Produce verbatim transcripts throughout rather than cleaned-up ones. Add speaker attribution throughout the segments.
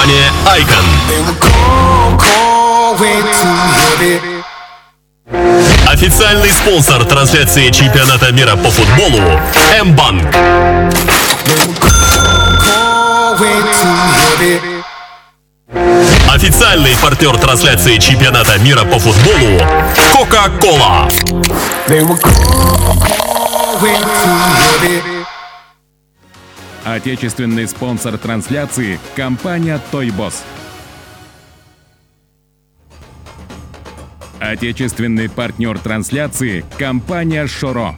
Speaker 1: Компания Icon. Официальный спонсор трансляции чемпионата мира по футболу М-банк. Официальный партнер трансляции чемпионата мира по футболу Кока-Кола.
Speaker 2: Отечественный спонсор трансляции – компания Тойбос. Отечественный партнер трансляции – компания Шоро.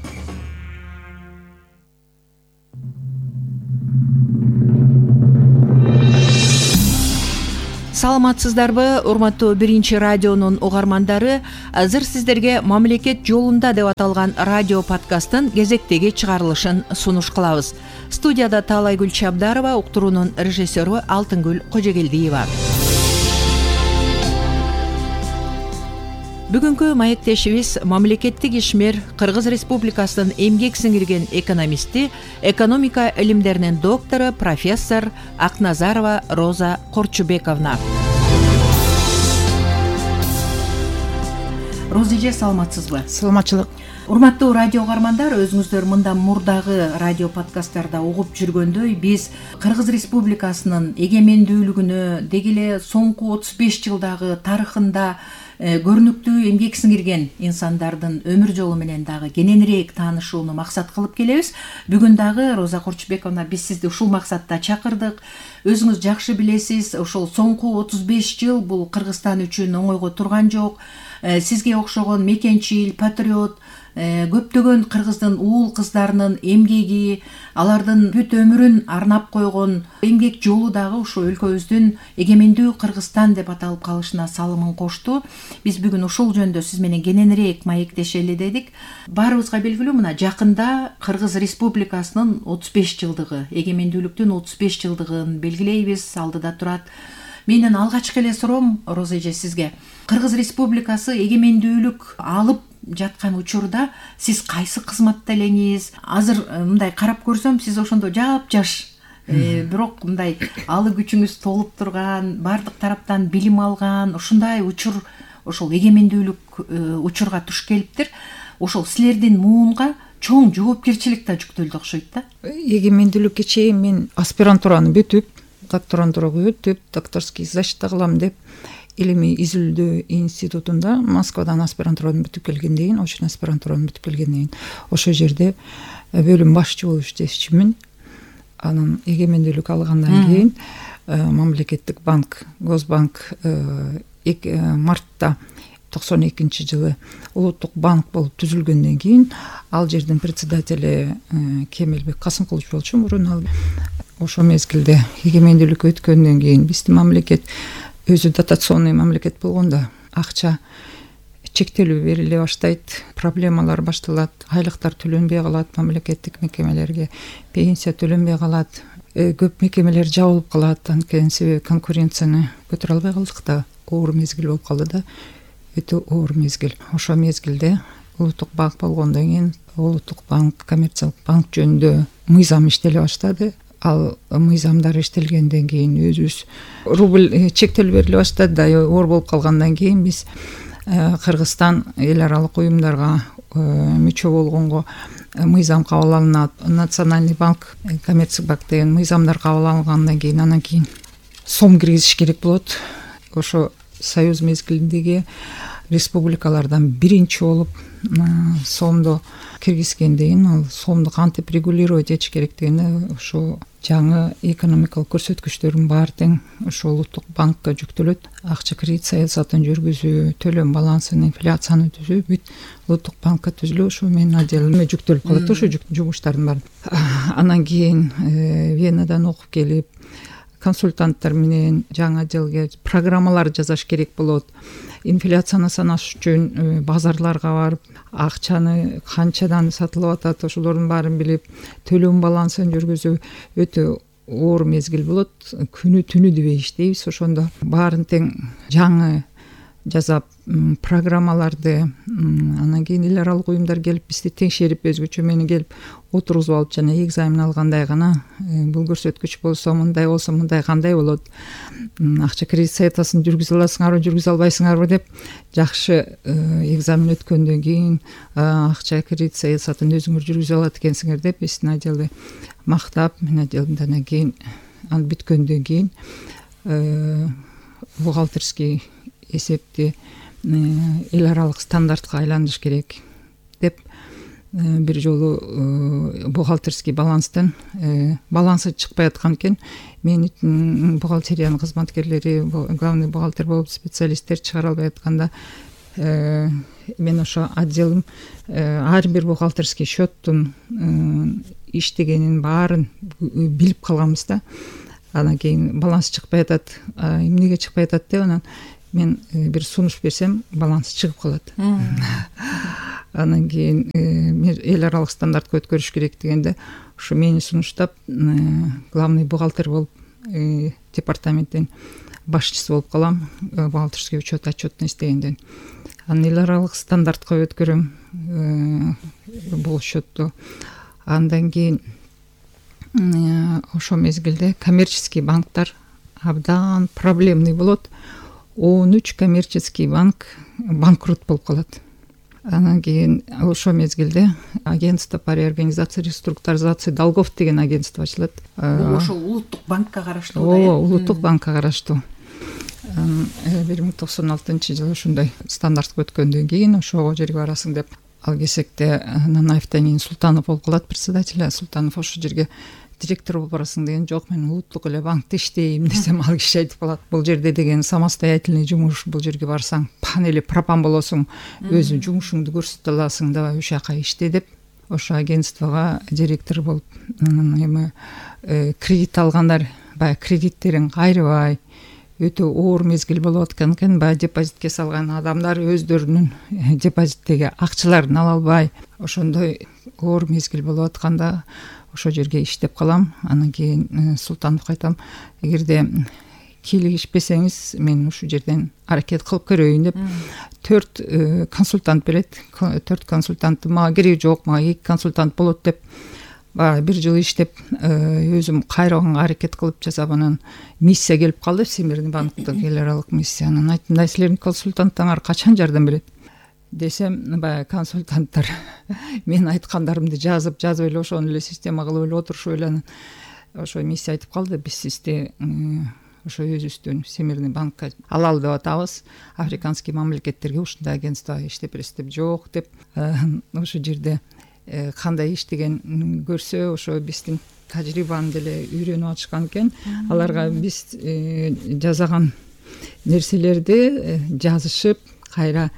Speaker 3: Саламатсыздарбы, урматтуу биринчи радионун угармандары. Азыр сиздерге мамлекет жолунда деп аталган радио подкасттын кезектеги чыгарылышын сунуш кылабыз. Студияда Таалайгүл Чабдарова, уктуруунун режиссеру Алтынгүл Кожогелдиева. Бүгүнкү маектешибиз мамлекеттик ишмер, Кыргыз Республикасынын эмгек сиңирген экономисти, экономика илимдеринин доктору, профессор Акназарова Роза Корчубековна. Роза эже, саламатсызбы?
Speaker 4: Саламатчылык.
Speaker 3: Урматтуу радио угармандар, өзүңүздөр мындан мурдагы радио подкасттарда угуп жүргөндөй, биз Кыргыз Республикасынын эгемендүүлүгүнө, деги эле соңку отуз беш жылдагы тарыхында көрүнүктүү эмгек сиңирген инсандардын өмүр жолу менен дагы кененирээк таанышууну максат кылып келебиз. Бүгүн дагы Роза Корчубековна, биз сизди ушул максатта чакырдык. Өзүңүз жакшы билесиз, ошол соңку отуз беш жыл бул Кыргызстан үчүн оңойго турган жок. Сизге окшогон мекенчил, патриот, көптөгөн кыргыздын уул кыздарынын эмгеги, алардын бүт өмүрүн арнап койгон эмгек жолу дагы ушу өлкөбүздүн эгемендүү Кыргызстан деп аталып калышына салымын кошту. Биз бүгүн ушул жөнүндө сиз менен кененирээк маектешели дедик. Баарыбызга белгилүү, мына жакында Кыргыз Республикасынын отуз беш жылдыгы, эгемендүүлүктүн отуз беш жылдыгын белгилейбиз, алдыда турат. Менин алгачкы эле суроом, Роза эже, сизге: Кыргыз Республикасы эгемендүүлүк алып жаткан учурда сиз кайсы кызматта элеңиз? Азыр мындай карап көрсөм, сиз ошондо жап-жаш, бирок мындай алы күчүңүз толуп турган, бардык тараптан билим алган, ушундай учур, ошол эгемендүүлүк учурга туш келиптир. Ошол силердин муунга чоң жоопкерчилик да жүктөлдү окшойт да.
Speaker 4: Эгемендүүлүккө чейин мен аспирантураны бүтүп, докторантурага өтүп, докторский защита кылам деп илимий изилдөө институтунда Москвадан аспирантураны бүтүп келгенден кийин, ошол аспирантураны бүтүп келгенден кийин ошол жерде бөлүм башчы болуп иштешчимин. Анан эгемендүүлүк алгандан кийин мамлекеттик банк, Госбанк мартта токсон экинчи жылы улуттук банк болуп түзүлгөндөн кийин ал жердин председатели Кемелбек Касымкулович болчу мурун. Ал ошол мезгилде эгемендүүлүк өткөндөн кийин биздин мамлекет өзү дотационный мамлекет болгондо акча чектелүү бериле баштайт, проблемалар башталат, айлыктар төлөнбөй калат, мамлекеттик мекемелерге пенсия төлөнбөй калат, көп мекемелер жабылып калат. Анткени себеби конкуренцияны көтөрө албай калдык да, оор мезгил болуп калды да, өтө оор мезгил. Ошол мезгилде улуттук банк болгондон кийин улуттук банк, коммерциялык банк жөнүндө мыйзам иштеле баштады. Ал мыйзамдар иштелгенден кийин өзүбүз рубль чектелүү бериле баштады да, оор болуп калгандан кийин биз Кыргызстан эл аралык уюмдарга мүчө болгонго мыйзам кабыл алынат. Национальный банк, коммерциялык банк деген мыйзамдар кабыл алынгандан кийин анан кийин сом киргизиш керек болот. Ошо союз мезгилиндеги республикалардан биринчи болуп сомду киргизгенден кийин ал сомду кантип регулировать этиш керектигине ошо жаңы экономикалык көрсөткүчтөрдүн баары тең ошо улуттук банкка жүктөлөт. Акча кредит саясатын жүргүзүү, төлөм балансын, инфляцияны түзүү бүт улуттук банкка түзүлүп, ошо менин отделиме жүктөлүп калат ошо жумуштардын баары. Анан кийин Венадан окуп келип, консультанттар менен жаңы отделге программалар жасаш керек болот. Инфляцияны санаш үчүн базарларга барып, акчаны канчадан сатылып атат, ошолордун баарын билип, төлөм балансын жүргүзүү өтө оор мезгил болот. Күнү түнү дебей иштейбиз. Ошондо баарын тең жаңы жасап, программаларды, анан кийин эл аралык уюмдар келип бизди текшерип, өзгөчө мени келип отургузуп алып, жана экзамен алгандай гана бул көрсөткүч болсо мындай болсо мындай кандай болот, акча кредит саясатын жүргүзө аласыңарбы, жүргүзө албайсыңарбы деп жакшы экзамен өткөндөн кийин акча кредит саясатын өзүңөр жүргүзө алат экенсиңер деп биздин отделди мактап, мен отделдин андан кийин ал бүткөндөн кийин бухгалтерский эсепти эл аралык стандартка айландырыш керек деп бир жолу бухгалтерский баланстан балансы чыкпай аткан экен. Мен бухгалтериянын кызматкерлери, главный бухгалтер болуп специалисттер чыгара албай атканда мен ошо отделим ар бир бухгалтерский счеттун иштегенин баарын билип калганбыз да. Анан кийин баланс чыкпай атат, эмнеге чыкпай атат деп анан мен бир сунуш берсем, баланс чыгып калат. Анан кийин эл аралык стандартка өткөрүш керек дегенде ушу мени сунуштап главный бухгалтер болуп департаменттин башчысы болуп калам, бухгалтерский учет отчетно издегенден. Анан эл аралык стандартка өткөрөм бул счетту. Андан кийин ошо мезгилде коммерческий банктар абдан проблемный болот. он үч коммерческий банк банкрот болуп калат. Анан кийин ошо мезгилде агентство по реорганизации реструктуризации долгов деген агентство ачылат.
Speaker 3: Бул ошо улуттук банкка караштуу да?
Speaker 4: Ооба, улуттук банкка караштуу. бир миң токсон алтынчы жылы ошондой стандартка өткөндөн кийин ошого жерге барасың деп, ал кезекте Нанаев Танин Султанов болуп калат председатель. Султанов ошо жерге директор болуп барасың деген, жок, мен улуттук эле банкта иштейм десем, ал киши айтып калат, бул жерде деген самостоятельный жумуш, бул жерге барсаң пан эле пропан болосуң, өзү жумушуңду көрсөтө аласың, давай ошол жака иште деп, ошо агентствого директор болуп, эми кредит алгандар баягы кредиттерин кайрыбай, өтө оор мезгил болуп аткан экен, баягы депозитке салган адамдар өздөрүнүн депозиттеги акчаларын ала албай, ошондой оор мезгил болуп атканда ошо жерге иштеп калам. Анан кийин Султановго айтам, эгерде кийлигишпесеңиз мен ушул жерден аракет кылып көрөйүн деп, төрт консультант берет. Төрт консультант мага кереги жок, мага эки консультант болот деп, баягы бир жыл иштеп, өзүм кайрганга аракет кылып жасап, анан миссия келип калды, Всемирный банктын эл аралык миссия. Анан айттым, да силердин консультанттарыңар качан жардам берет десем, баягы консультанттар мен айткандарымды жазып, жазып эле ошону эле система кылып эле отурушуп эле, анан ошо миссия айтып калды, биз сизди ошо өзүбүздүн Всемирный банкка алалы деп атабыз, африканский мамлекеттерге ушундай агентство иштеп бересиз деп. Жок деп, ошо жерде кандай иштеген көрсө, ошо биздин тажрыйбаны деле үйрөнүп алышкан экен. Аларга биз жасаган нерселерди жазышып, кайра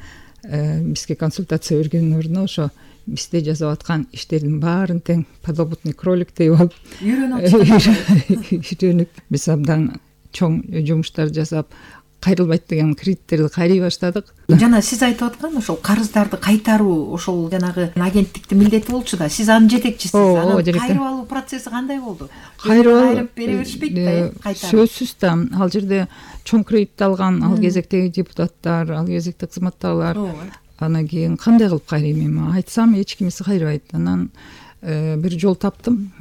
Speaker 4: бизге консультация бергендин ордуна ошо бизде жасап аткан иштердин баарын тең подопытный кроликтей болуп үйрөнүп, биз абдан чоң жумуштар жасап, кайрылбайт деген кредиттерди кайрый баштадык.
Speaker 3: Жана сиз айтып аткан ошол карыздарды кайтаруу, ошол жанагы агенттиктин милдети болчу да, сиз анын жетекчисиз. Анан кайрып алуу процесси кандай болду? Кайрып бере беришпейт да, кайтарып?
Speaker 4: Сөзсүз да, ал жерде чоң кредит алган, ал кезектеги депутаттар, ал кезекте кызматтагылар. Анан кийин кандай кылып кайрыйм эми? Айтсам эч кимиси кайрыбайт. Анан бир жол таптым,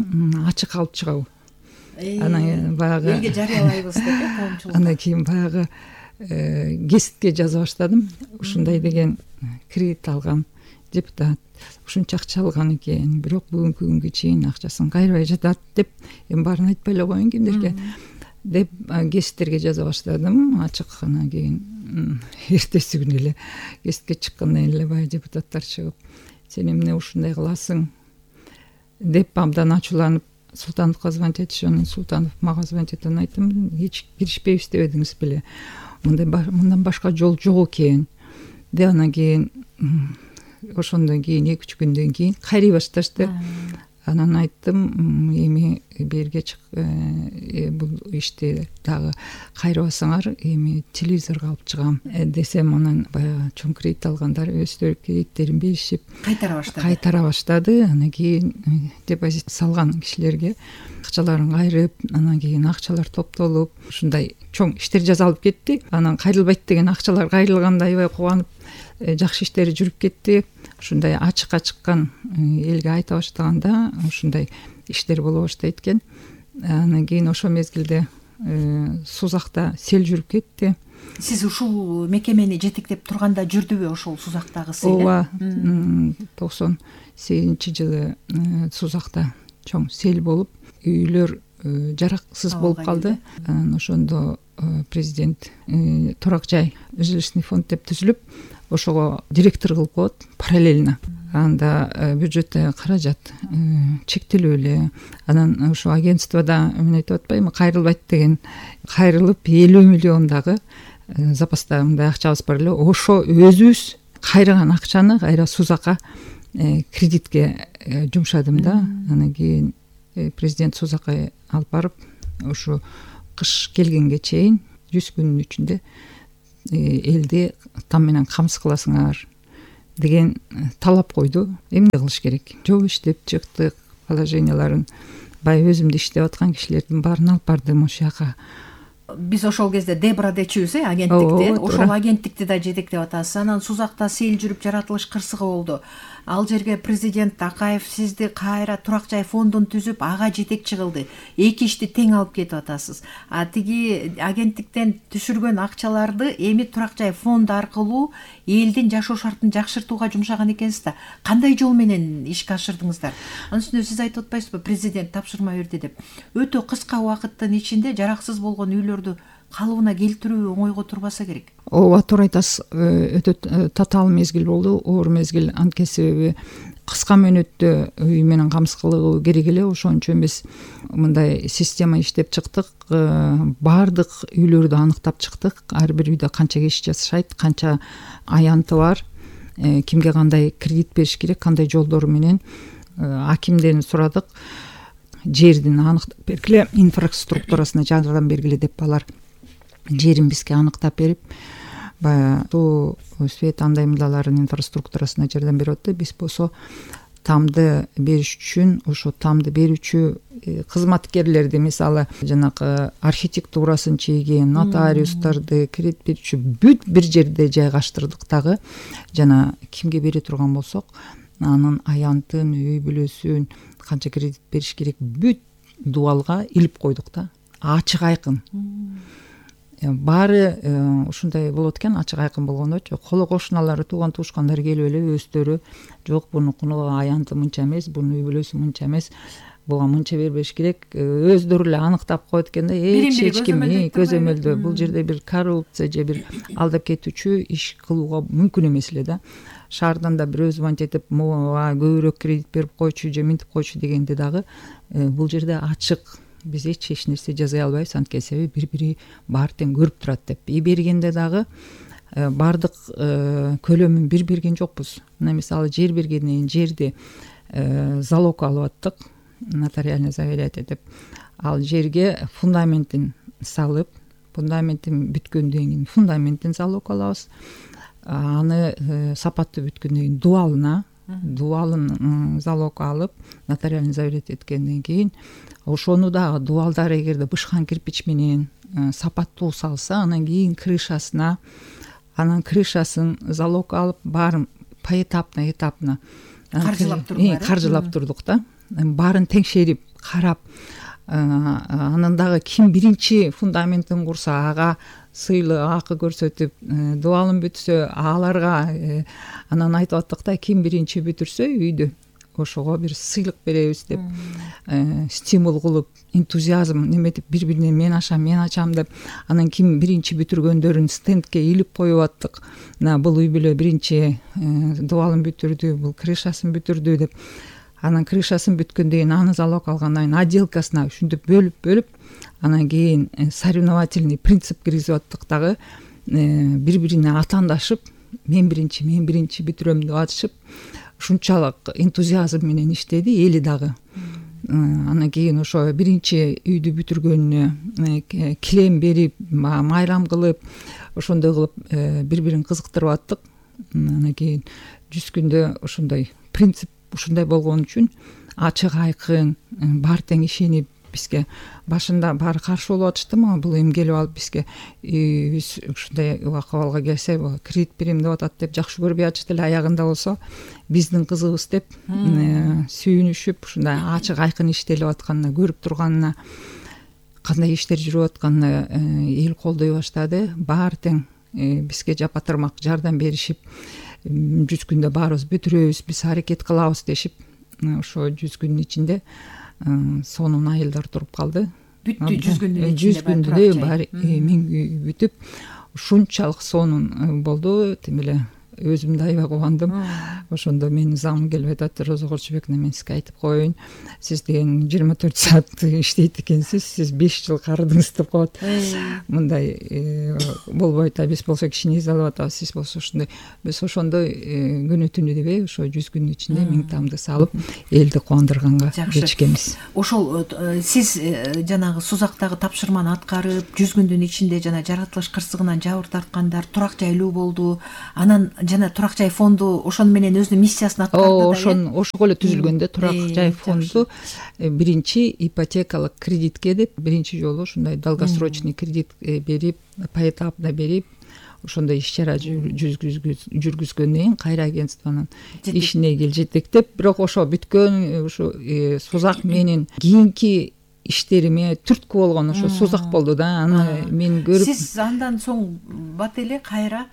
Speaker 4: ачык алып чыгабы. Анан баягы
Speaker 3: элге жарыялайбыз деп, коомчулукка.
Speaker 4: Анан кийин баягы гезитке жаза баштадым. Ушундай деген кредит алган депутат, ушунча акча алган экен, бирок бүгүнкү күнгө чейин акчасын кайрыбай жатат деп, эми баарын айтпай эле коеюн кимдерге деп гезиттерге жаза баштадым, ачык. Анан кийин эртеси күнү эле гезитке чыккандан эле баягы депутаттар чыгып, сен эмне ушундай кыласың деп абдан ачууланып Султановго звонить этишип, анан Султанов мага звонить этип, анан айттым, эч киришпейбиз дебедиңиз беле, мындай мындан башка жол жок экен деп. Анан кийин ошондон кийин эки үч күндөн кийин кайрый башташты. Анан айттым, эми берге бул ишти дагы кайрыбасаңар, эми телевизорго алып чыгам десем, анан баягы чоң кредит алгандар өздөрү кредиттерин беришип
Speaker 3: кайтара баштады.
Speaker 4: Кайтара баштады. Анан кийин депозит салган кишилерге акчаларын кайрып, анан кийин акчалар топтолуп, ушундай чоң иштер жасалып кетти. Анан кайрылбайт деген акчалар кайрылганда аябай кубанып, жакшы иштери жүрүп кетти. Ушундай ачыкка чыккан, элге айта баштаганда ушундай иштер боло баштайт экен. Анан кийин ошол мезгилде Сузакта сел жүрүп кетти.
Speaker 3: Сиз ушул мекемени жетектеп турганда жүрдүбү ошол Сузактагы сел?
Speaker 4: Ооба, токсон сегизинчи жылы Сузакта чоң сел болуп, үйлөр жараксыз болуп калды. Анан ошондо президент турак жай жилищный фонд деп түзүлүп, ошого директор кылып коет параллельно. Анда бюджетте каражат чектелүү эле. Анан ошо агентствода мен айтып атпаймынбы, кайрылбайт деген кайрылып элүү миллион дагы запаста мындай акчабыз бар эле. Ошо өзүбүз кайраган акчаны кайра Сузакка кредитке жумшадым да. Анан кийин президент Сузакка алып барып, ошо кыш келгенге чейин жүз күнүн ичинде элди там менен камсыз кыласыңар деген талап койду. Эмне кылыш керек? Жол иштеп чыктык, положенияларын баягы өзүмдү иштеп аткан кишилердин баарын алып бардым ошол жака.
Speaker 3: Биз ошол кезде Дебра дечүбүз, э, агенттикте. Ошол агенттикти да жетектеп атасыз. Анан Сузакта сел жүрүп жаратылыш кырсыгы болду. Ал жерге президент Такаев сизди кайра турак жай фондун түзүп, ага жетекчи кылды. Эки ишти тең алып кетип атасыз. А тиги агенттиктен түшүргөн акчаларды эми турак жай фонду аркылуу элдин жашоо шартын жакшыртууга жумшаган экенсиз да. Кандай жол менен ишке ашырдыңыздар? Анын үстүнө сиз айтып атпайсызбы, президент тапшырма берди деп. Өтө кыска убакыттын ичинде жараксыз болгон үйлөрдү калыбына келтирүү оңойго турбаса керек.
Speaker 4: Ооба, туура айтасыз. Өтө татаал мезгил болду, оор мезгил. Анткени себеби кыска мөөнөттө үй менен камсыз кылуу керек эле. Ошончо эмес мындай система иштеп чыктык. Баардык үйлөрдү аныктап чыктык. Ар бир үйдө канча киши жашайт, канча аянты бар, кимге кандай кредит бериш керек, кандай жолдор менен акимден сурадык. Жердин аныктап бергиле, инфраструктурасына жардам бергиле деп алар жерин бизге аныктап берип, баягы суу, свет андай мындайлардын инфраструктурасына жардам берип атты. Биз болсо тамды бериш үчүн ошо тамды берүүчү кызматкерлерди, мисалы жанагы архитектурасын чийген нотариустарды, кредит берүүчү бүт бир жерде жайгаштырдык дагы. Жана кимге бере турган болсок, анын аянтын, үй бүлөсүн, канча кредит бериш керек бүт дубалга илип койдук да. Ачык айкын. Баары ушундай болот экен, ачык айкын болгондочу. Коло кошуналары, тууган туушкандары келип эле өздөрү, жок бунукуну аянты мынча эмес, бунун үй бүлөсү мынча эмес, буга мынча бербеш керек, өздөрү эле аныктап коет экен да. Эч ким көзөмөлдөө, бул жерде бир коррупция же бир алдап кетүүчү иш кылууга мүмкүн эмес эле да. Шаардан да бирөөз мантип мага көбүрөөк кредит берип койчу же минтип койчу дегенде дагы бул жерде ачык. Биз эч эч нерсе жаза албайбыз, анткени себеби бири-бири баары тең көрүп турат деп. И бергенде дагы баардык көлөмүн бир берген жокпуз. Мына мисалы жер бергенден кийин жерди залог алып аттык, нотариальный заверять деп. Ал жерге фундаментин салып, фундаментин бүткөндөн кийин фундаментин залог алабыз. Аны сапаттуу бүткөндөн кийин дубалына, дубалын залог алып, нотариальный заверять эткенден кийин ошону дагы дубалдар эгерде бышкан кирпич менен сапаттуу салса, анан кийин крышасына, анан крышасын залог алып, баарын поэтапно, этапно
Speaker 3: каржылап турдук.
Speaker 4: Каржылап турдук да. Баарын теңшерип, карап, анан дагы ким биринчи фундаментин курса, ага сыйлык акы көрсөтүп, дубалын бүтсө аларга, анан айтып аттык да, ким биринчи бүтүрсө үйдү, ошого бир сыйлык беребиз деп стимул кылып, энтузиазм неметип, бири-бирине мен ашам, мен ачам деп, анан ким биринчи бүтүргөндөрүн стендке илип коюп аттык. Мына бул үй бүлө биринчи дубалын бүтүрдү, бул крышасын бүтүрдү деп. Анан крышасын бүткөндөн кийин аны залог алгандан кийин отделкасына ушинтип бөлүп-бөлүп, анан кийин соревновательный принцип киргизип аттык дагы, бири-бирине атаандашып, мен биринчи, мен биринчи бүтүрөм деп атышып, ушунчалык энтузиазм менен иштеди эли дагы. анан кийин ошо биринчи үйдү бүтүргөнүнө килем берип майрам кылып ошондой кылып бири бирин кызыктырып аттык. Анан кийин жүз күндө ошондой принцип ушундай болгон үчүн ачык айкын баары тең ишенип бизге башында баары каршы болуп атышты. Мага бул эми келип алып бизге биз ушундай акыбалга келсе кредит берем деп атат деп жакшы көрбөй атышты эле. Аягында болсо биздин кызыбыз деп сүйүнүшүп ушундай ачык айкын иштелип атканына, көрүп турганына, кандай иштер жүрүп атканына эл колдой баштады. Баары тең бизге жапа тырмак жардам беришип, жүз күндө баарыбыз бүтүрөбүз, биз аракет кылабыз дешип, ошо жүз күндүн ичинде сонун айылдар туруп калды.
Speaker 3: Бүттү жүз күндүн ичинде.
Speaker 4: жүз күндө баары миң үй бүтүп, ушунчалык сонун болду. Тим эле өзүм да аябай кубандым. Ошондо менин замым келип айтат: Роза Курчубековна, мен сизге айтып коеюн, сиз деген жыйырма төрт саат иштейт экенсиз, сиз беш жыл карыдыңыз деп коет. Мындай болбойт, а биз болсо кичине изалап атабыз, сиз болсо ушундай. Биз ошондой күнү түнү дебей, ошо жүз күндүн ичинде миң тамды салып, элди кубандырганга жетишкенбиз.
Speaker 3: Ошол сиз жанагы Сузактагы тапшырманы аткарып, жүз күндүн ичинде жана жаратылыш кырсыгынан жабыр тарткандар турак жайлуу болду. Анан жана турак жай фонду ошону менен өзүнүн миссиясын аткарды.
Speaker 4: Ошон ошого эле түзүлгөндө турак жай фонду биринчи ипотекалык кредитке деп биринчи жолу ушундай долгосрочный кредит берип, поэтапно берип, ошондой иш чара жүргүзгөндөн кийин кайра агентствонун ишине кел жетектеп, бирок ошо бүткөн ушу Сузак менин кийинки иштериме түрткү болгон ошо Сузак болду да. Аны мен көрүп,
Speaker 3: сиз андан соң бат эле кайра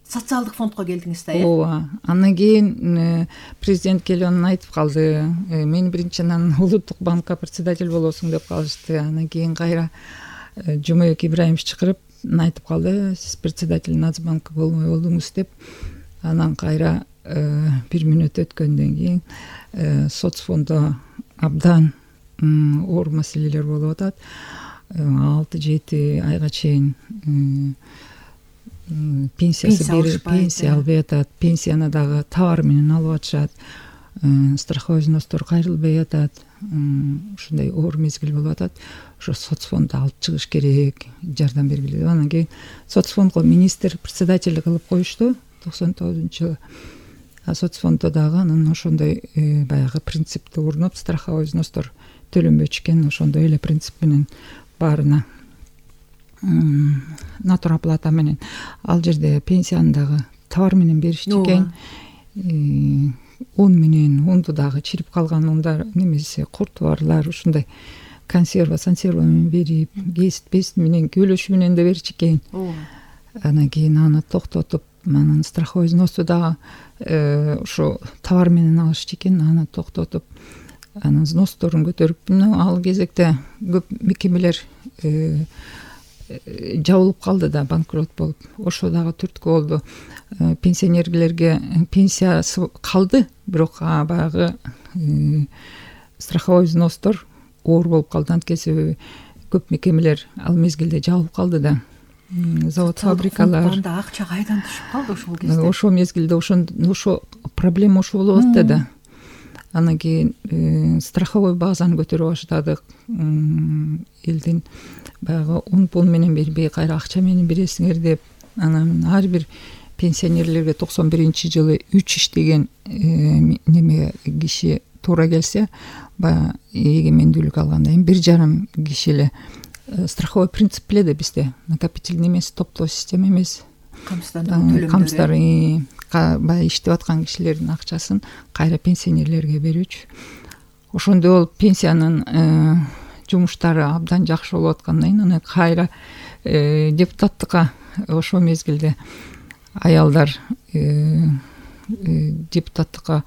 Speaker 3: социалдык фондко келдиңиз да, э?
Speaker 4: Ооба. Андан кийин президент келип анан айтып калды: мен биринчи анан улуттук банкка председатель болосуң деп калышты. Андан кийин кайра Жумабек Ибраимович чакырып айтып калды: сиз председатель Нацбанка болмой болдуңуз деп. Анан кайра бир мүнөт өткөндөн кийин соцфондо абдан оор маселелер болуп атат. алты жети айга чейин пенсиясы берип, пенсия албай атат, пенсияны дагы товар менен алып атышат, страховой взностор кайрылбай атат. Ушундай оор мезгил болуп атат. Ошо соцфондду алып чыгыш керек, жардам бергиле деп. Анан кийин соцфондго министр председатель кылып коюшту токсон тогузунчу жылы. А соцфонддо дагы анан ошондой баягы принципти урнуп, страховой взностор төлөнбөчү экен, ошондой эле принцип менен баарына натуроплата менен ал жерде пенсияны дагы товар менен беришчү экен. Un менен унду дагы чирип калган ундар немесе курт барлар ушундай консерва, консерва менен берип, кесип пест менен көлөшү менен да берчү экен. Анан кийин аны токтотуп, анан страховой взносу дагы ошо товар менен алышчу экен, аны токтотуп, анан взносторун көтөрүп, ал кезекте көп мекемелер жабылып калды да, банкрот болуп. Ошо дагы түрткү болду. Пенсионерлерге пенсиясы калды, бирок баягы страховой взностор оор болуп калды. Анткени себеби көп мекемелер ал мезгилде жабылып калды да. Завод, фабрикалар.
Speaker 3: Анда акча кайдан түшүп калды ошол кезде?
Speaker 4: Ошо мезгилде ошо проблема ошо болуп атты да. Анан кийин страховой базаны көтөрүп баштадык. Элдин баягы он пул менен бербей, кайра акча менен бересиңер деп. Анан ар бир пенсионерлерге токсон биринчи жылы үч иштеген неме киши туура келсе, баягы эгемендүүлүк алганда эми бир жарым киши эле страховой принцип эле да бизде. Накопительный эмес, топтоо система эмес.
Speaker 3: Камсыздандыруу
Speaker 4: Камсыздар баягы иштеп аткан кишилердин акчасын кайра пенсионерлерге берүүчү. Ошондой болуп пенсиянын жумуштары абдан жакшы болуп аткандан кийин аны кайра депутаттыкка ошол мезгилде аялдар депутаттыкка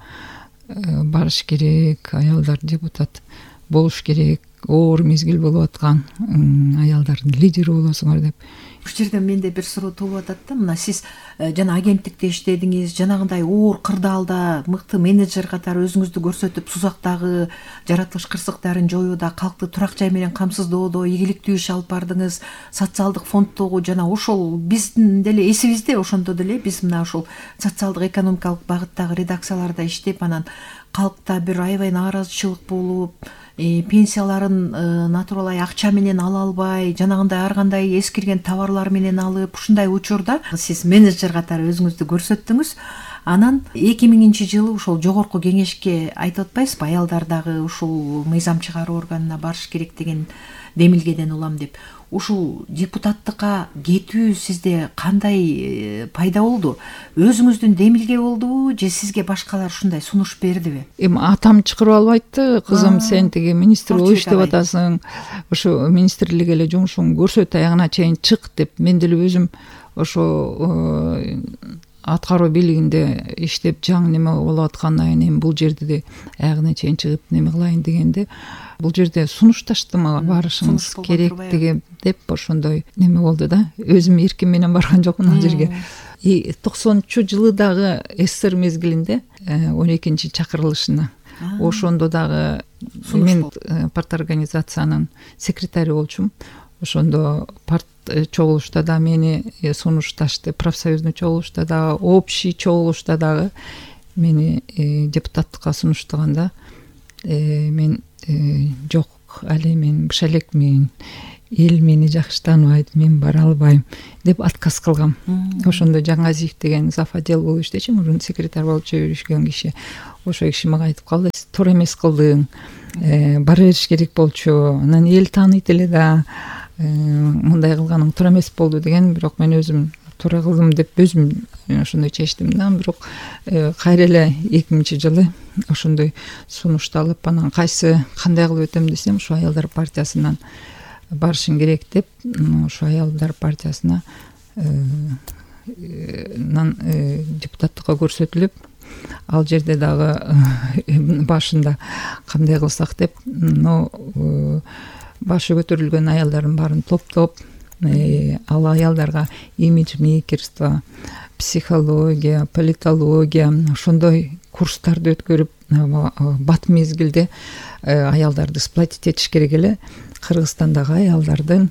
Speaker 4: барыш керек, аялдар депутат болуш керек, оор мезгил болуп аткан, аялдардын лидери болосуңар деп.
Speaker 3: Бул жерде менде бир суроо туулуп атат да. Мына сиз жана агенттикте иштедиңиз, жанагындай оор кырдаалда мыкты менеджер катары өзүңүздү көрсөтүп, Сузактагы жаратылыш кырсыктарын жоюуда, калкты турак жай менен камсыздоодо ийгиликтүү иш алып бардыңыз. Социалдык фонддогу жана ошол биздин деле эсибизде, ошондо деле биз мына ошол социалдык экономикалык багыттагы редакцияларда иштеп, анан калкта бир аябай нааразычылык болуп, пенсияларын натуралай акча менен ала албай, жанагындай ар кандай эскирген товарлар менен алып, ушундай учурда сиз менеджер катары өзүңүздү көрсөттүңүз. Анан эки миңинчи жылы ушул жогорку кеңешке айтып атпайсызбы, аялдар дагы ушул мыйзам чыгаруу органына барыш керек деген демилгеден улам деп. Ушул депутаттыкка кетүү сизде кандай пайда болду? Өзүңүздүн демилге болдубу же сизге башкалар ушундай сунуш бердиби?
Speaker 4: Эми атам чакырып албайтты, кызым сен тиги министр болуп иштеп атасың, ошо министрлик эле жумушуңду көрсөт, аягына чейин чык деп. Мен деле өзүм ошо аткаруу бийлигинде иштеп жаңы неме болуп аткандан кийин бул жерде де аягына чейин чыгып неме кылайын дегенде, бул жерде сунушташты мага барышыңыз керек деген деп ошондой неме болду да. Өзүм эрким менен барган жокмун ал жерге. И токсонунчу жылы дагы СССР мезгилинде он экинчи чакырылышына ошондо дагы мен парторганизациянын секретары болчумун. Ошондо парт чогулушта да мени сунушташты, профсоюзный чогулушта дагы, общий чогулушта дагы мени депутаттыкка сунуштаганда мен жок, али мен быша элекмин, эл мени жакшы тааныбайт, мен бара албайм деп отказ кылгам. Ошондо Жаңазиев деген зав. Отдел болуп иштечү, мурун секретарь болуп жүргөн киши. Ошо киши мага айтып калды: "Сиз туура эмес кылдың, бара бериш керек болчу, анан эл тааныйт эле да, мындай кылганың туура эмес болду" деген. Бирок мен өзүм туура кылдым деп өзүм ошондой чечтим да. Бирок кайра эле эки миңинчи жылы ошондой сунушталып, анан кайсы кандай кылып өтөм десем, ушу аялдар партиясынан барышың керек деп, ушу аялдар партиясына депутаттыкка көрсөтүлүп, ал жерде дагы башында кандай кылсак деп, но башы көтөрүлгөн аялдардын баарын топтоп, ал аялдарга имиджмейкерство, психология, политология ошондой курстарды өткөрүп, бат мезгилде аялдарды сплотить этиш керек эле. Кыргызстандагы аялдардын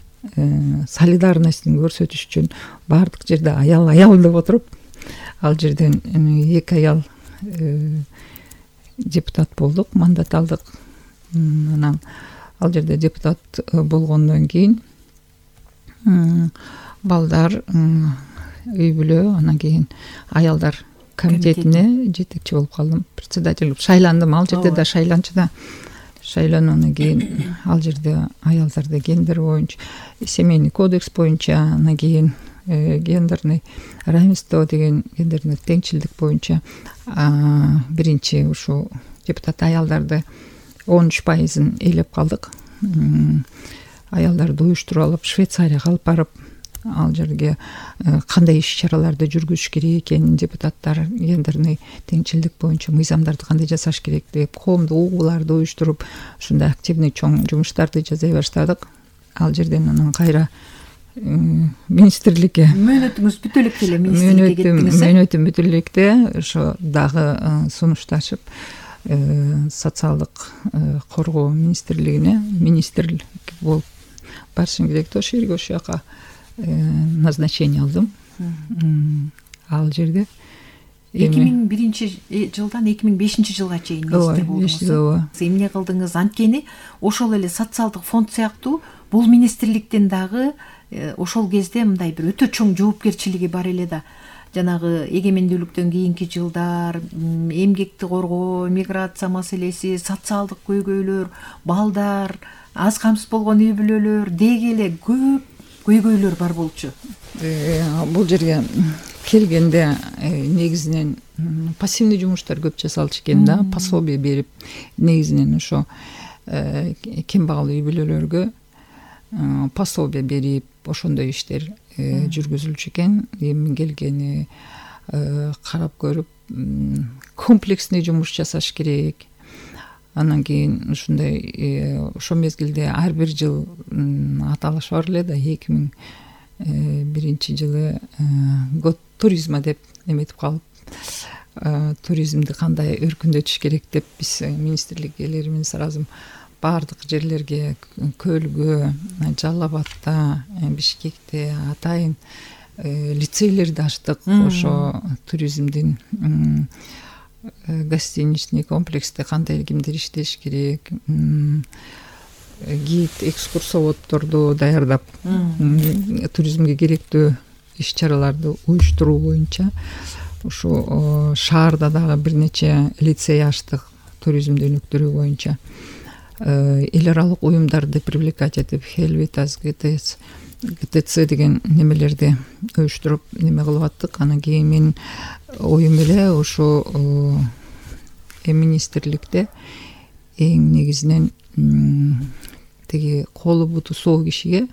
Speaker 4: солидарностун көрсөтүш үчүн баардык жерде аял аял деп отуруп, ал жерден эки аял депутат болдук, мандат алдык. Анан ал жерде депутат болгондон кийин балдар үй бүлө, анан кийин аялдар комитетине жетекчи болуп калдым, председатель болуп шайландым. Ал жерде да шайланчу да. Шайлануудан кийин ал жерде аялдарды гендер боюнча, семейный кодекс боюнча, анан кийин гендерный равенство деген гендерный теңчилдик боюнча биринчи ушу депутат аялдарды он үч пайызын ээлеп калдык. Аялдарды уюштуруп алып Швейцарияга алып барып, ал жерге кандай иш чараларды жүргүзүш керек экенин, депутаттар гендерный теңчилдик боюнча мыйзамдарды кандай жасаш керек деп, коомдук угууларды уюштуруп, ушундай активный чоң жумуштарды жасай баштадык. Ал жерден анан кайра министрликке
Speaker 3: мөөнөтүңүз бүтө электе эле министрликке кеттиңиз.
Speaker 4: Мөөнөтүм бүтө электе ошо дагы сунушташып, социалдык коргоо министрлигине министрлик болуп барышым керек да. Ошол жерге ошол жака назначение алдым. Ал жерде
Speaker 3: эки миң биринчи жылдан эки миң бешинчи жылга чейин министр болдуңуз. Эмне кылдыңыз? Анткени ошол эле социалдык фонд сыяктуу бул министрликтен дагы ошол кезде мындай бир өтө чоң жоопкерчилиги бар эле да. Жанагы эгемендүүлүктөн кийинки жылдар эмгекти коргоо, миграция маселеси, социалдык көйгөйлөр, балдар, аз камсыз болгон үй бүлөлөр деги эле көп көйгөйлөр бар болчу.
Speaker 4: Бул жерге келгенде негизинен пассивный жумуштар көп жасалчу экен да, пособие берип, негизинен ошо кембагал үй бүлөлөргө пособие берип, ошондой иштер жүргүзүлчү экен. Эми келгени карап көрүп, комплексный жумуш жасаш керек. Анан кийин ушундай ошол мезгилде ар бир жыл аталыш бар эле да. эки миң биринчи жылы год туризма деп эметип калып, туризмди кандай өркүндөтүш керек деп биз министрликелерибиз сразу баардык жерлерге, Көлгө, Жалал Абадта, Бишкекте атайын лицейлерди ачтык. Ошо туризмдин гостиничный комплексте кандай кимдер иштеш керек, гид, экскурсоводдорду даярдап туризмге керектүү иш чараларды уюштуруу боюнча ушу шаарда дагы бир нече лицей ачтык туризм дөөнүктөрү боюнча эл аралык уюмдарды привлекать этип Helvitas, ГТС ГТЦ деген немелерди уюштуруп неме кылып аттык. Анан кийин менин оюм эле ошо министрликте эң негизинен тиги колу буту соо кишиге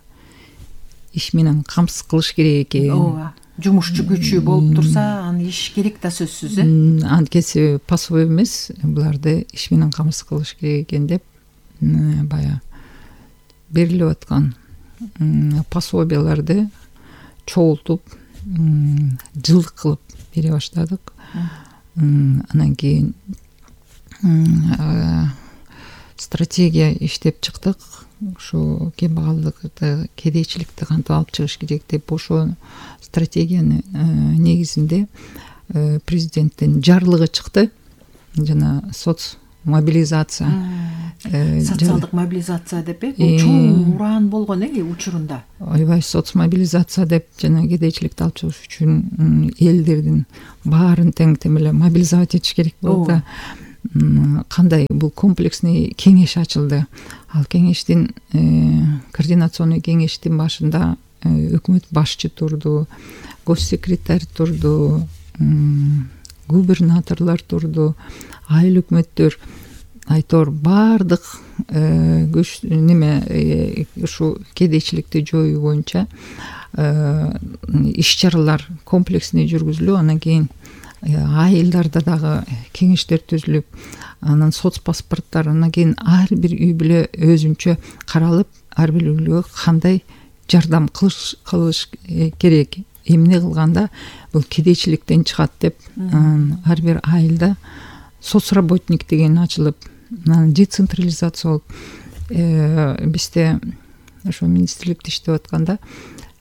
Speaker 4: иш менен камсыз кылыш керек экен.
Speaker 3: ооба, жумушчу күчү болуп турса аны иш керек да сөзсүз. э
Speaker 4: Анткеси пасоо эмес, буларды иш менен камсыз кылыш керек экен деп баягы берилип аткан пособияларды чогултуп жылдык кылып бере баштадык. Анан кийин стратегия иштеп чыктык. Ошо кембагалдыкты, кедейчиликти кантип алып чыгыш керек деп ошо стратегиянын негизинде президенттин жарлыгы чыкты. Жана соц мобилизация,
Speaker 3: социалдык мобилизация деп э бул чоң ураан болгон э учурунда.
Speaker 4: Ойбай, соц мобилизация деп жана кедейчиликти алып чыгыш үчүн элдердин баарын тең темеле мобилизовать этиш керек болду да. Кандай бул комплексный кеңеш ачылды. Ал кеңештин координационный кеңештин башында өкмөт башчы турду, госсекретарь турду, губернаторлор турду, айыл өкмөттөр, айтор баардык көч неме ушу кедейчиликти жоюу боюнча иш чаралар комплексный жүргүзүлүп, анан кийин айылдарда дагы кеңештер түзүлүп, анан соц паспорттар, анан кийин ар бир үй бүлө өзүнчө каралып, ар бир үй бүлөгө кандай жардам кылыш кылыш керек, эмне кылганда бул кедейчиликтен чыгат деп ар бир айылда соцработник деген ачылып, анан децентрализация болуп, бизде ошо министрликте иштеп атканда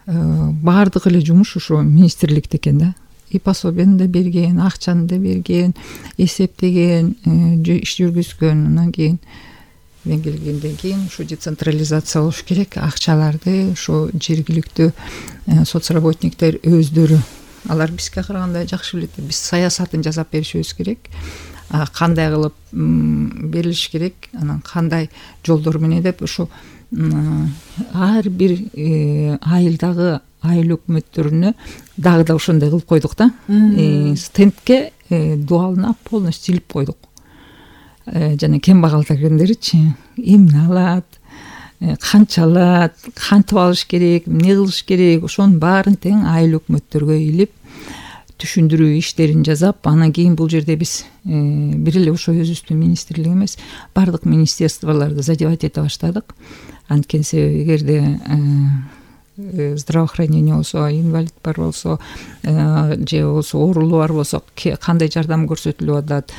Speaker 4: баардык эле жумуш ошо министрликте экен да. И пособияны да берген, акчаны да берген, эсептеген, иш жүргүзгөн. Анан кийин мен келгенден кийин ушу децентрализация болуш керек. Акчаларды ошо жергиликтүү соцработниктер өздөрү, алар бизге караганда жакшы билет. Биз саясатын жасап беришибиз керек. Кандай кылып берилиш керек, анан кандай жолдор менен деп ошо ар бир айылдагы айыл өкмөттөрүнө дагы да ошондой кылып койдук да. Стендке дуалына полностью илип койдук. Жана кембагалдар киргендеричи эмне алат, канча алат, кантип алыш керек, эмне кылыш керек, ошонун баарын тең айыл өкмөттөргө илип түшүндүрүү иштерин жасап, анан кийин бул жерде биз бир эле ошо өзүбүздүн министрлик эмес, баардык министерстволорду задевать эте баштадык. Анткени себеби эгерде здравоохранение болсо, инвалид бар болсо, же болсо оорулуу бар болсо, кандай жардам көрсөтүлүп атат,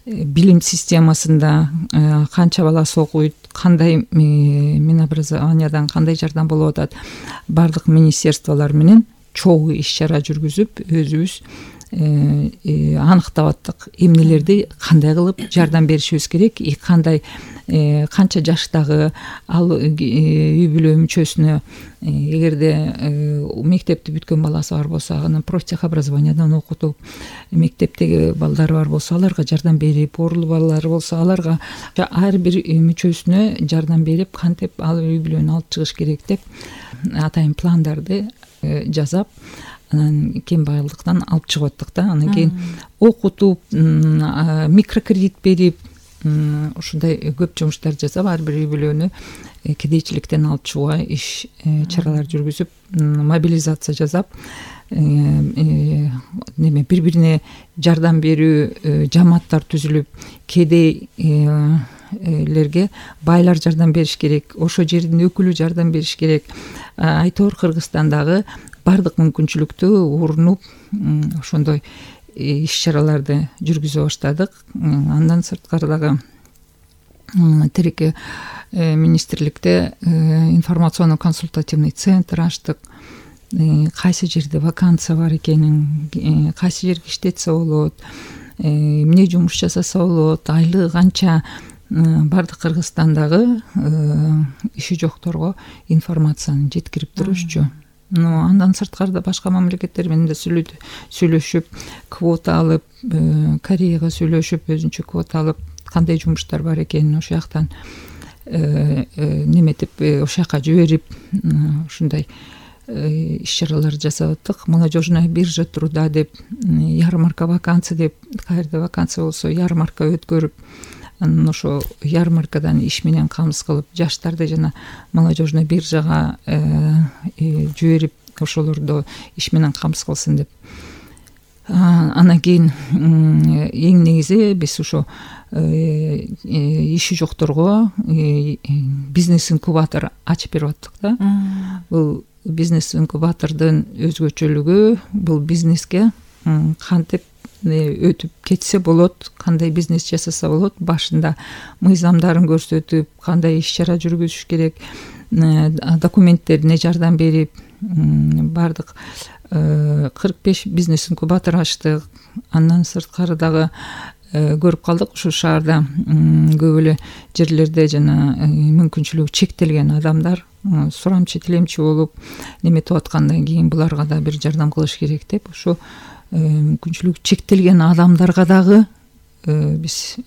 Speaker 4: билим системасында канча баласы окуйт, кандай минобразованиядан кандай жардам болуп атат, баардык министерстволор менен чогуу иш чара жүргүзүп, өзүбүз аныктап аттык, эмнелерди кандай кылып жардам беришибиз керек, и кандай канча жаштагы ал үй бүлө мүчөсүнө эгерде мектепти бүткөн баласы бар болсо, анан профтехобразованиядан окутуп, мектептеги балдары бар болсо аларга жардам берип, оорулуу балалары болсо аларга ар бир мүчөсүнө жардам берип, кантип ал үй бүлөнү алып чыгыш керек деп атайын пландарды жасап, анан кембагалдыктан алып чыгып аттык да. Анан кийин окутуп, микрокредит берип, ушундай көп жумуштар жасап, ар бир үй бүлөнү кедейчиликтен алып чыгууга иш чаралар жүргүзүп, мобилизация жасап, неме бири-бирине жардам берүү жамааттар түзүлүп, кедейлерге байлар жардам бериш керек, ошо жердин өкүлү жардам бериш керек. Айтор Кыргызстандагы баардык мүмкүнчүлүктү урунуп, ошондой иш чараларды жүргүзө баштадык. Андан сырткары дагы тиреке министрликте информационно-консультативный центр ачтык. кайсы жерде вакансия бар экенин, кайсы жерге иштетсе болот, эмне жумуш жасаса болот, айлыгы канча, баардык Кыргызстандагы иши жокторго информацияны жеткирип турушчу. Но андан сырткары башка мамлекеттер менен да сүйлөшүп, квота алып, Кореяга сүйлөшүп, өзүнчө квота алып, кандай жумуштар бар экенин ошол жактан неметип, ошол жака жиберип, ушундай иш-чаралар жасап аттык. Молодежная биржа труда деп, ярмарка вакансия деп, каерде вакансия болсо ярмарка өткөрүп, анан ошо ярмаркадан иш менен камсыз кылып, жаштарды жана молодежный биржага жиберип, ошолорду иш менен камсыз кылсын деп. Анан кийин эң негизи биз ошо иши жокторго бизнес инкубатор ачып берип аттык да. Бул бизнес инкубатордун өзгөчөлүгү, бул бизнеске кантип өтүп кетсе болот, кандай бизнес жасаса болот, башында мыйзамдарын көрсөтүп, кандай иш-чара жүргүзүш керек, документтерине жардам берип, баардык кырк беш бизнес инкубатор ачтык. Андан сырткары дагы көрүп калдык, ушул шаарда көп эле жерлерде жана мүмкүнчүлүгү чектелген адамдар сурамчы тилемчи болуп неметип аткандан кийин буларга да бир жардам кылыш керек деп, ошо мүмкүнчүлүгү чектелген адамдарга дагы биз